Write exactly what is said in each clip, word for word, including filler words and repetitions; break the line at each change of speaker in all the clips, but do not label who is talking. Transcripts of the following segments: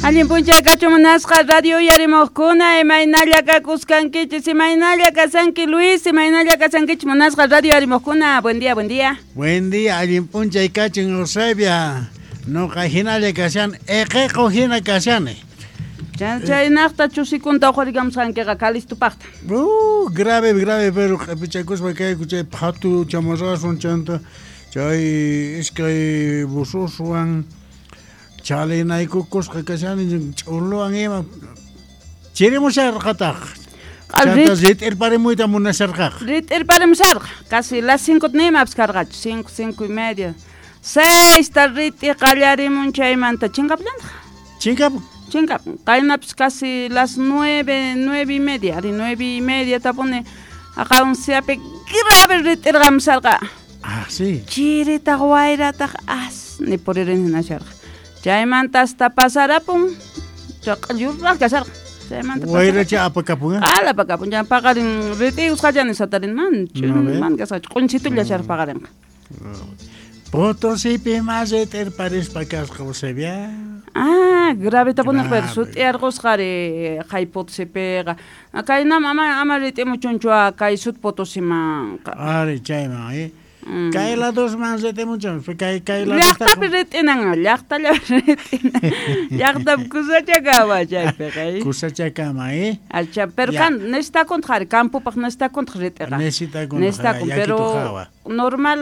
Allin p'unchay kachun munasqa radio uyarimuqkuna, imaynalla kakusqankichis, imaynalla kasanki Luis, imaynalla kasankichis munasqa radio uyarimuqkuna. Buen día, buen día.
Buen día, allin p'unchay kachun Eusebia. Nuqa hinalla kashan, eqeqo hina kashani.
Chaynaqta chusikunta uqharikamusqankiqa Calistopaqta.
Uh, grave, grave, pero q'ipichakuspa kayku chay phatu chamarrasun chanta chay iskay bususwan chalinaykukusqa kashani ch'uluwan ima chirimusharqataq. Chanta rit'irparimuyta munasharqaqa.
Rit'irparimusharqa, casi las cinco nimapas karqachu, cinco, cinco y media. Seis ta rit'i qallarimun chaymanta chinkapllantaq.
Chinkapun.
Chinkapun. Qaynapas casi las nueve, nueve y media, ari nueve y media tapuni aqaunsiapi grave rit'irqamusharqa.
Ah, sí.
Chiritaq wayrataq as ni puririn hinasharqa. Chaymanta hasta pasarapun chaq'allurraq kasharqa. Chaymanta
wayracha apakapun.
Ala apakapun. Ya paqarin rit'iusqallani satarin man, man kasqachu q'unchitulla sharqa paqarinqa.
Potosipi mas rit'irparispa kasqa Eusebia.
Ah, grave tapunaq pero sut'iyarqusqari qay Potosipiqa. Kaynam ama ama rit'imuchunchu kay sut Potosimanqa.
Ari chayman, eh. Mm. Kay ladosman rit'imuchun, kay kay
llaqtapi rit'inan, llaqtallapi rit'inan. Llaqtapi kusachakama chaypiqa.
Kusachakama, eh.
Acha, pero kan necesitakuntaq ari campopaq necesitakuntaq rit'iqa.
Necesitakuntaq,
necesitakun, pero normal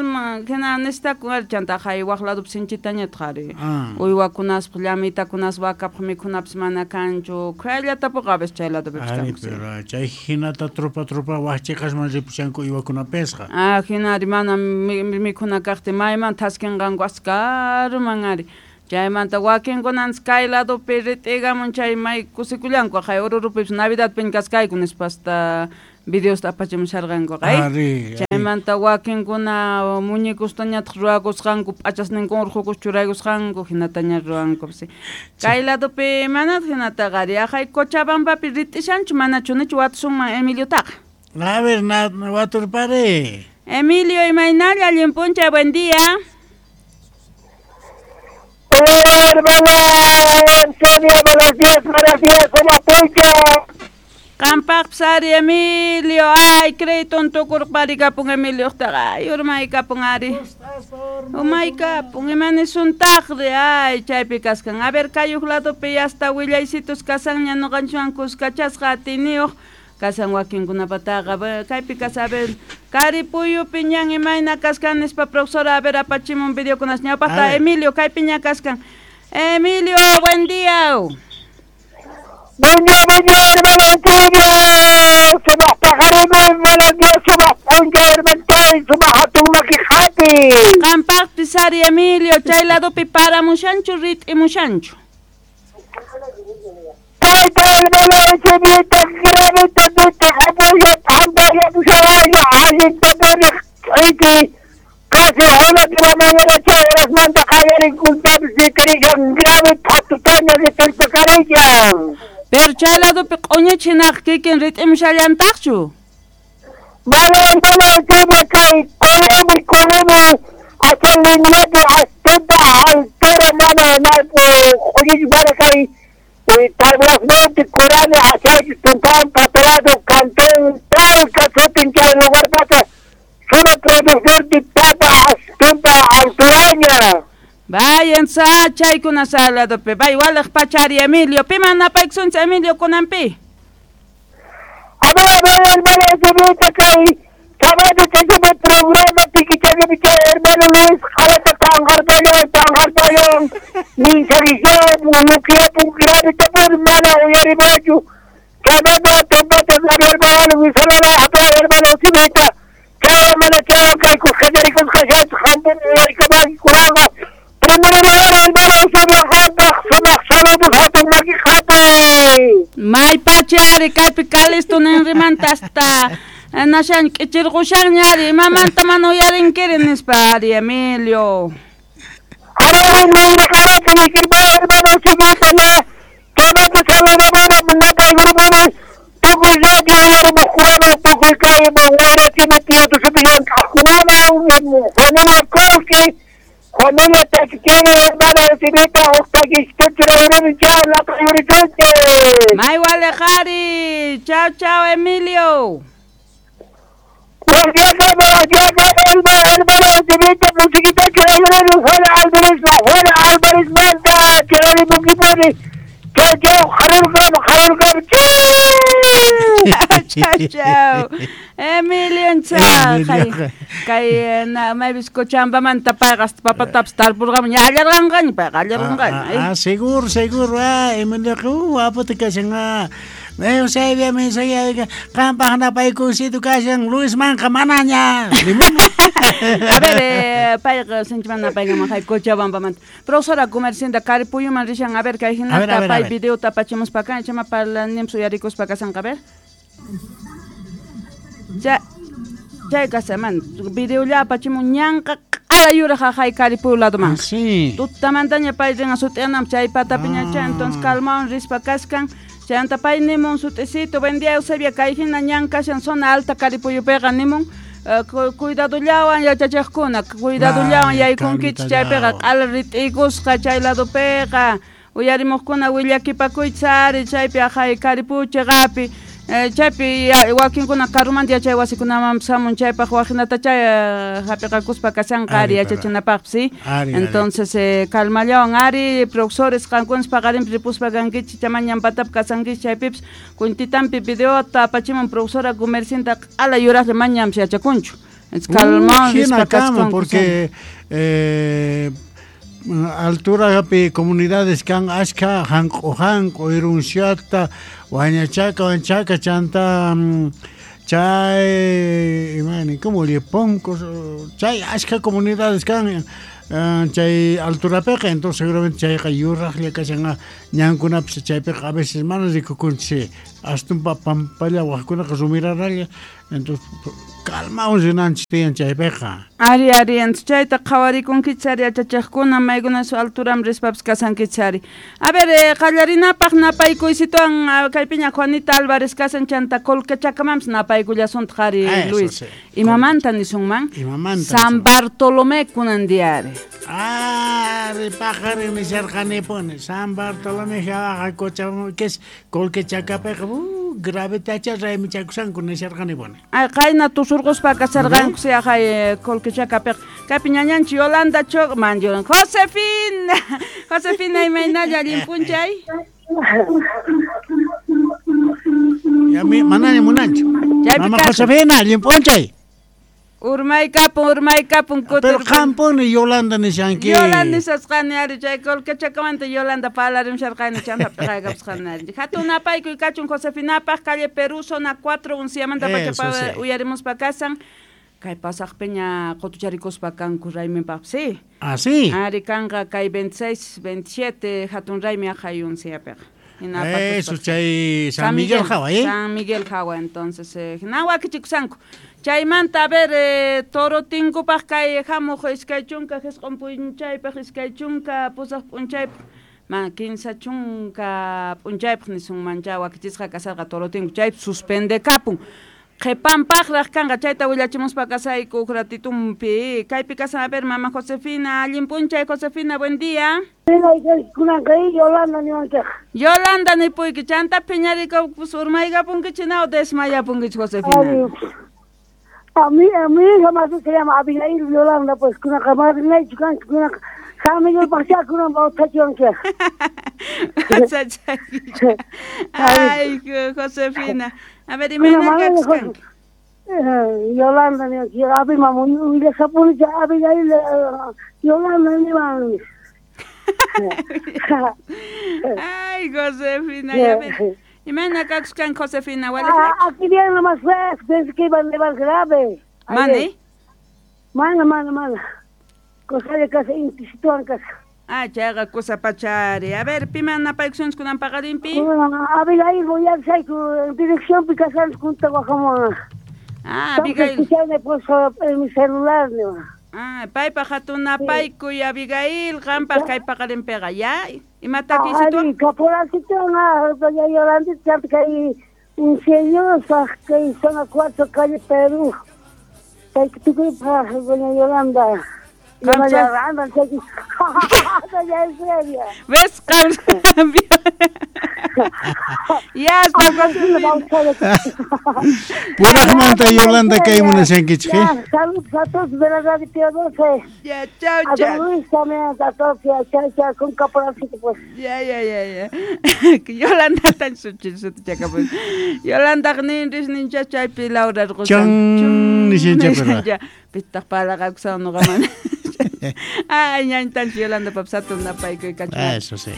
hina necesitakun ari chanta hay waq ladopi sinchitañataq ari. Uywakunaspaq, llamitakunas, vakapaq mikhunapas mana kanchu. Kayllatapuqa a veces chay ladopipis
Ari,
kanku.
Pero chay hinata tropa tropa waq chiqasman ripushanku uywakunapesqa.
Ah, hina ari mana mikhuna kaqtin mayman thaskinqanku askaruman ari. Chaymanta wakinkunanchis kay ladopi rit'igamun chay may kusikullanku hay Orurupipis Navidadpiña kaskayku nispa hasta videosta apachimusharqankuqa.
Ari,
chaymanta wakinkuna muñecostañataq ruwakusqanku p'achasninkuna urqukus churaykusqanku hinataña ruwanku. Kay ladopi manataq hinataqa ari haqay Cochabambapi rit'ishanchu manachu nichu watusunman Emiliotaqa.
A ver, na, waturpari.
Emilio, imaynalla, allin p'unchay, buen día.
Hola, hermana Antonio, buenos días, buenos días, ¿cómo pucha?
Qampaqpas ari Emilio, ay, crédito tukurparikapun Emiliotaqa, ay, urmaykapun ari. Umaykapun, imanisuntaqri, ay, chaypi kaskan. A ver, kay huk ladopi hasta willaysitos kasanña ñuqanchikwan kuskachasqa atiniyuq kasan wakinkunapataqa. Kaypi kasa, a ver, Karipuyupi ñan imayna kaskan nispa profesora, a ver, apachimun videokunas ñawpaqta. Emilio, kaypiña kaskan. Emilio, buen día.
Buen día, buen día, hermano Antonio. Sumaq paqarinmi, buenos días, sumaq p'unchay, hermano, sumaq hatun maki hapi.
Qampaqpis ari Emilio, chay ladopi paramushanchu, rit'imushanchu.
Tayta, hermano Eusebio, gravita nita hapuya, t'ampaya, pushawaya, allinta puriq iti. Casi una de la mañana chay horasmanta qallarinkuntapis rit'irishan grave phatutaña rit'irpakarishan.
Pero chay ladopi q'uñichinaq kikin rit'imushallantaqchu.
Mana, hermano Eusebio, kay Colomi, Colomi, hacia lineapi astunta altura mana q'uñich mana kay Tablasmonte, Corani, Asaychi, Tumpán, Patorado, Cantón, Talca, sutin chay lugar pasa, solo productor de papa astunta alturaña.
Vayan sa chaykuna sa ladopi, bay walaq pachari Emilio, piman napaykusunchis Emilio kunanpi.
A ver, a ver, hermano Eusebio, kay sábado chaypi programa tikichaypi chay hermano Luis, jalata tanqarpayon, tanqarpayon, minsarisyon, mukiapun grave tapur mana uyarimachu. Chaymanta tumpata hermano Luis, salala, hermano Eusebio, chay hermano chay kay kusqacharikusqa hampun uyarikamaki kunanqa. Primero hermano Eusebio, hampaq sumaq saludos hatun maki hapi.
May pachari kaypi Calisto ninrimanta hasta nashan k'ichirqushanña ari imamanta mana uyarinkiri nispa ari Emilio.
Ari nirqarata nikirpa hermano Eusebio, chaymanta saludomana napaykurupuni tukuy radio uyarimuqkunaman tukuy kay wayrachini tío tusupi llank'aqkunaman familia Kowski Familia takichini hermano Eusebita la
May walejari. Chao, chao, Emilio. Chao, chao. Emilio, chao. Kay na may bizcochambamanta payqa papatapas tarpurqamun allarqanqaña payqa allarqanqaña.
Ah, seguro, seguro. Ah, Emilio, aputa kashan. Ah, Eusebia mensaje qampaq napaykusitu kashan Luis manqa manaña.
A ver, eh, payqa sinchiman napaykaman hay Cochabambamanta. Profesora comerciante Caripuyuman rishan, a ver kay hinata pay videota apachimuspa kan chama parlanim suyarikuspa kasanqa, a ver. Ya chay kasaman videolla apachimun ñanqa q'ala yuraq hay Caripuyu ladoman.
Ah, sí.
Tutamantaña pay rinqa sut'ianam chay patapiña chay, entonces calmawan rispa kaskan. Chanta pay nimun sut'isito, buen día Eusebia, kay hina ñan kashan zona alta Caripuyupiqa nimun uh, cuidadollawan yachachiqkuna, cuidadollawan yaykunkichik chaypiqa q'ala rit'ikusqa chay ladopiqa uyarimuqkuna willakipakuychis ari chaypi aqhay Caripuyu chiqapi chaypi wakinkuna karumanta yachay wasikunamanpas hamun chaypaq wajinata chay hapiqakuspa kashanqa ari yachachinapaqpas, sí. Entonces eh, calmallawan ari profesores qankunas paqarinpi ripuspa kankichik chamañan patapi kasankichik chaypipas kuntitampi videota apachimun profesora comercianta q'ala yuraqlla mañanpas yachakunchu. Calmawan rispa
kaskanku porque eh, alturapi comunidades kan ashka hanq'u hanq'u irunsiata wañachaka wanchaka chanta chay imani como le pongo chay ashka comunidades kan chay alturapiqa, entonces seguramente chayqa yuraqlla kashan ñankunapas chaypiqa a veces mana rikukunchik astunpa pampalla waqkunaqa rumiraralla, entonces calmawan rinanchik tiyan chaypiqa.
Ari, ari, entonces chayta qhawarikunkichik ari yachachiqkuna maykunas alturam rispapas kasankichik ari. A ver, eh, qallarinapaq napaykuysituwan kaypiña Juanita Álvarez kasan chanta Colquechacamanpas napaykullasuntaq ari Luis. Imamanta nisunman?
Imamanta
San Bartolomé kunan día ari.
Ari paqarin nisharqanipuni San Bartolomé hawaqa Cochabamba que es Colquechacapiqa uh, gravetacha raymichakusanku nisharqanipuni.
Ay qayna tusurquspa kasarqanku si aqhay Colquechacapiqa. Kaypi ñañanchik Yolanda Choc man Yolanda Josefina Josefina imaynalla allin p'unchay.
Ya mi manaña munanchu. Mama Josefina allin p'unchay.
Urmaykapun, urmaykapun kutir.
Pero qampuni Yolanda nishanki.
Yolanda nisasqani ari chay Colquechacamanta Yolanda parlarimsharqani chanta p'iqaykapusqani ari. Hatun napaykuy kachun Josefinapaq calle Perú zona cuatro unciamanta pacha uyarimuspa kasan. Kay pasaqpiña qutucharikuspa kanku rayminpaq, sí.
Ah, sí.
Ari kanqa kay veintiséis, veintisiete hatun raymi aqhay unciapiqa.
Eso chay San Miguel Jawa, ¿eh?
San Miguel Jawa, entonces eh, hina wakichikusanku. Chaymanta, a ver, eh, toro tinkupaq kay hamuq iskay chunka qisqun p'unchaypaq iskay chunka pusaq p'unchaypaq ma kinsa chunka p'unchaypaq nisunman chay wakichisqa kasarqa toro tinku chaypi suspendekapun. Qhipanpaqraq kanqa chayta willachimuspa kasayku huk ratitumpi. Kaypi kasan, a ver, mama Josefina, allin p'unchay Josefina, buen día.
Yolanda niwanchik.
Yolanda nipuyki, chanta phiñarikapus urmaykapunkichik o desmayapunkichik Josefina.
A mí, a mi hija más se llama Abigail Yolanda, pues kunaqa madrinaychu kanki kunaqa San Miguel paqcha kunan bautizachiwanchik.
Ay, Josefina. A ver, imayna kakuskanki.
Yolanda niwanchik, abi mamu willashapuni Abigail Yolanda niwan.
Ay, Josefina, ya ves. Imayna kakuskanki Josefina,
ah, aquí viene lo más feo, pensé que iba a nevar grave.
¿Mane?
Mana, mana, mana. Cosa de casa, intisituan casa.
Ah, chayqa kusa pachari. A ver, piman napaykusunchik kunan paqarinpi?
Abigail, voy a dirección picasan junto a
Ah, Abigail.
Pues, en mi celular, no.
Ah, paypaq hatun napaykuy Abigail, qampaq kay paqarinpiqa, ya? Imata kisitu?
Ari, caporalcito, na, doña Yolanda, kay ingeniosa, kay zona cuatro, calle Perú. Kay tukuypaq, doña Yolanda.
¿Ves? Ya está.
Purajmanta Yolanda kay munashankichik.
Saludos a todos de la radio Pío doce.
Ya, chao, chao.
A Luis también, a todos, ya, chao, chao, con caporalcito, pues.
Ya, ya, ya, ya. Yolanda tan suchi, suchi, pues. Yolanda nin, nin, chaypi Laura
Chon, nishin,
pitaq palaqakusaq nuqaman. Ay, ñañtanchik Yolanda papsato napaykuy kachu.
Eso sí.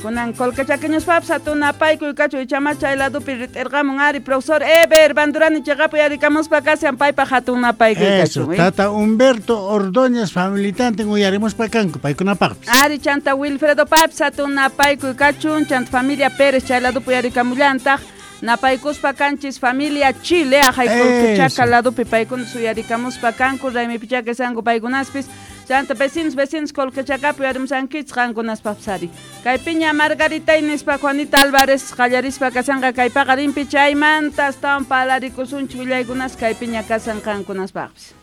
Kunan kolkachakiñuspapis hatun napaykuy kachu ichama chay ladupi rit'irqamun ari profesor Eber Bandurani chiqapu yarikamuspa kashan paypaq hatun napaykuy
kachu. Eso, tata Humberto Ordóñez familitantin uyarimuspa kanku paykunapaqpis.
Ari chanta Wilfredo papis hatun napaykuy kachun chanta familia Pérez chay ladupi yarikamullantaq. Napaykuspa kanchis familia Chile ajaykulkichaka ladupi paykuna suyarikamuspa kanku raymipichaka sanku paykunaspis chanta vecinos vecinos kolkichakapi uyarimusankichis qankunaspapis ari kaypiña Margarita nispa Juanita Álvarez qallarispa kasanqa kay paqarinpi chaymanta astawan parlarikusunchik willaykunas kaypiña kasan qankunaspaqpis.